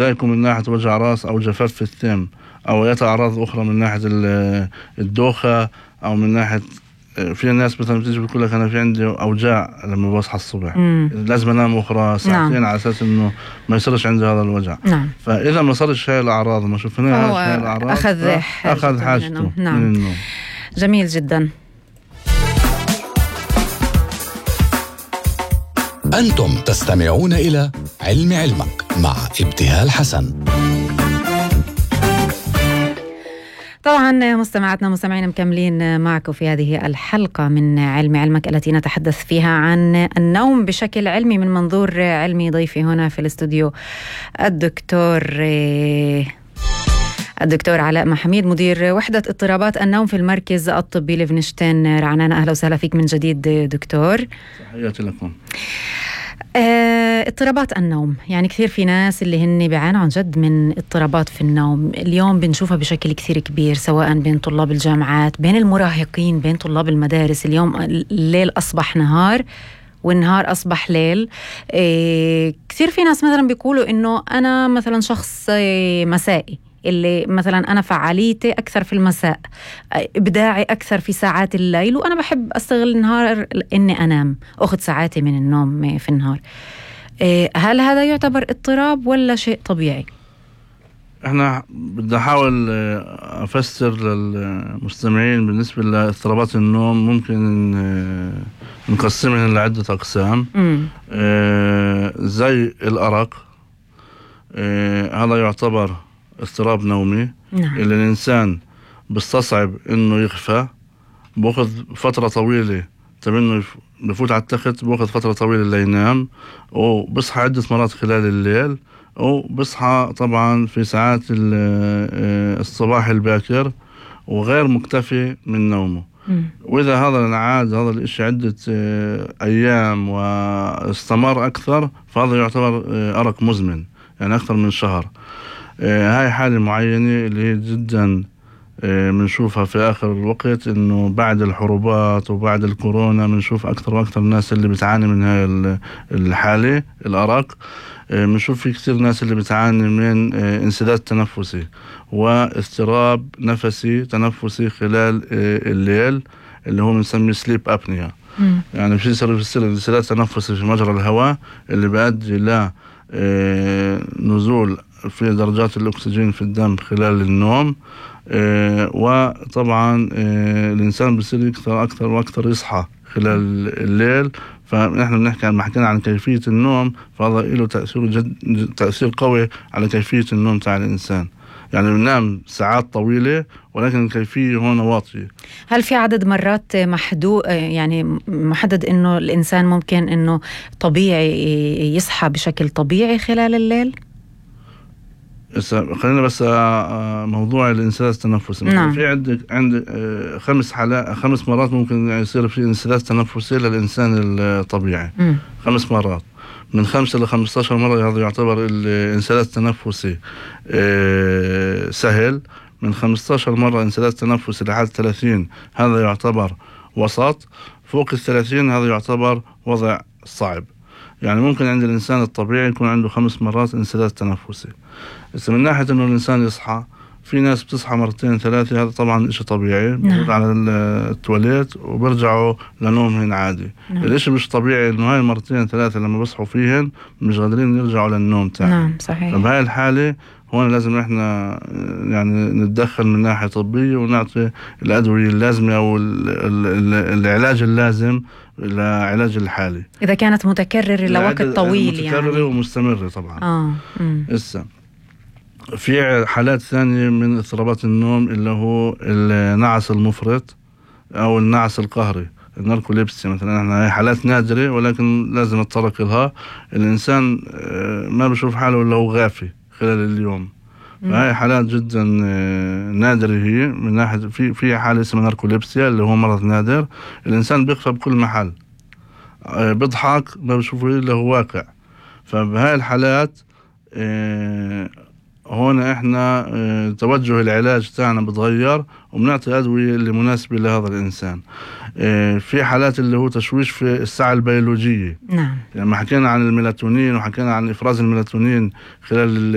يكون من ناحية وجع راس أو جفاف في الثيم أو أي أعراض أخرى من ناحية الدوخة أو من ناحية في ناس مثلا بتيجي بتقول لك أنا في عندي أوجاع لما بصحى الصبح لازم أنام أخرى ساعتين على أساس إنه ما يصيرش عندي هذا الوجع. فإذا ما صارش هاي الأعراض ما شفناها هاي الأعراض أخذ حاجته من النوم. جميل جدا. أنتم تستمعون إلى علم علمك مع ابتهال حسن. طبعا مستمعاتنا مستمعين مكملين معكم في هذه الحلقة من علم علمك التي نتحدث فيها عن النوم بشكل علمي من منظور علمي. ضيفي هنا في الاستوديو الدكتور علاء محميد مدير وحدة اضطرابات النوم في المركز الطبي لفنشتين رعنان. أهلا وسهلا فيك من جديد دكتور. تحياتي لكم. اضطرابات النوم، يعني كثير في ناس اللي هن بيعانوا عن جد من اضطرابات في النوم. اليوم بنشوفها بشكل كثير كبير سواء بين طلاب الجامعات، بين المراهقين، بين طلاب المدارس. اليوم الليل أصبح نهار والنهار أصبح ليل. كثير في ناس مثلا بيقولوا إنه أنا مثلا شخص مسائي، اللي مثلا أنا فعاليتي أكثر في المساء، إبداعي أكثر في ساعات الليل، وأنا بحب أستغل النهار إني أنام أخذ ساعاتي من النوم في النهار. هل هذا يعتبر اضطراب ولا شيء طبيعي؟ احنا بدي احاول افسر للمستمعين بالنسبة لاضطرابات النوم. ممكن نقسمها لعدة اقسام. زي الارق، هذا يعتبر اضطراب نومي. اللي الانسان بيستصعب انه يخفى، باخذ فترة طويلة انه بفوت على التخت، باخذ فترة طويلة لينام، وبصحى عدة مرات خلال الليل، وبصحى طبعا في ساعات الصباح الباكر وغير مكتفي من نومه. وإذا هذا انعاد هذا الاشي عدة أيام واستمر أكثر، فهذا يعتبر أرق مزمن، يعني أكثر من شهر. هاي حالة معينة اللي هي جدا بنشوفها في آخر الوقت، إنه بعد الحروبات وبعد الكورونا بنشوف أكثر وأكثر الناس اللي بتعاني من هاي الحالة الأرق. بنشوف في كثير ناس اللي بتعاني من انسداد تنفسي واضطراب نفسي تنفسي خلال الليل، اللي هو بنسميه سليب أبنيا. يعني في يصير انسداد تنفسي في مجرى الهواء اللي بيؤدي ل نزول في درجات الأكسجين في الدم خلال النوم. وطبعا الإنسان بيصير أكثر وأكثر يصحى خلال الليل. فنحن بنحكي لما حكينا عن كيفية النوم، فهذا له تأثير قوي على كيفية النوم تاع الإنسان. يعني بننام ساعات طويلة ولكن الكيفية هون واطية. هل في عدد مرات يعني محدد إنه الإنسان ممكن إنه طبيعي يصحى بشكل طبيعي خلال الليل؟ خلينا بس موضوع الانسداد التنفسي. في عندك 5 مرات ممكن يصير في انسداد تنفسي للإنسان الطبيعي. 5 مرات، من 5 ل 15 مرة هذا يعتبر الانسداد التنفسي سهل. من 15 مرة انسداد تنفسي لحد 30 هذا يعتبر وسط. فوق 30 هذا يعتبر وضع صعب. يعني ممكن عند الإنسان الطبيعي يكون عنده 5 مرات انسداد تنفسي. بس من ناحية إنه الإنسان يصحى، في ناس بتصحى 2 3، هذا طبعا إشي طبيعي، بيقعدوا على التواليت وبرجعوا لنومهم عادي. الإشي مش طبيعي إنه هاي 2 3 لما بصحوا فيهن مش قادرين يرجعوا للنوم تاني. صحيح. فبهاي الحالة هون لازم إحنا يعني نتدخل من ناحية طبية ونعطي الأدوية اللازمة أو العلاج اللازم لعلاج الحالة إذا كانت متكررة لوقت طويل، متكررة يعني ومستمرة طبعا. في حالات ثانية من اضطرابات النوم اللي هو النعس المفرط أو النعس القهري، الناركوليبسي مثلا. احنا هي حالات نادرة ولكن لازم نتطرق لها. الإنسان ما بشوف حاله إلا هو غافي خلال اليوم. فهي حالات جدا نادرة. هي من ناحية في حالة اسمها ناركوليبسيا اللي هو مرض نادر. الإنسان بيخفى بكل محل، بيضحك ما بشوفه إلا هو واقع. فبهاي الحالات هون احنا إحنا توجه العلاج تاعنا بتغير وبنعطي أدوية اللي مناسبة لهذا الإنسان. في حالات اللي هو تشويش في الساعة البيولوجية. نعم. يعني ما حكينا عن الميلاتونين وحكينا عن إفراز الميلاتونين خلال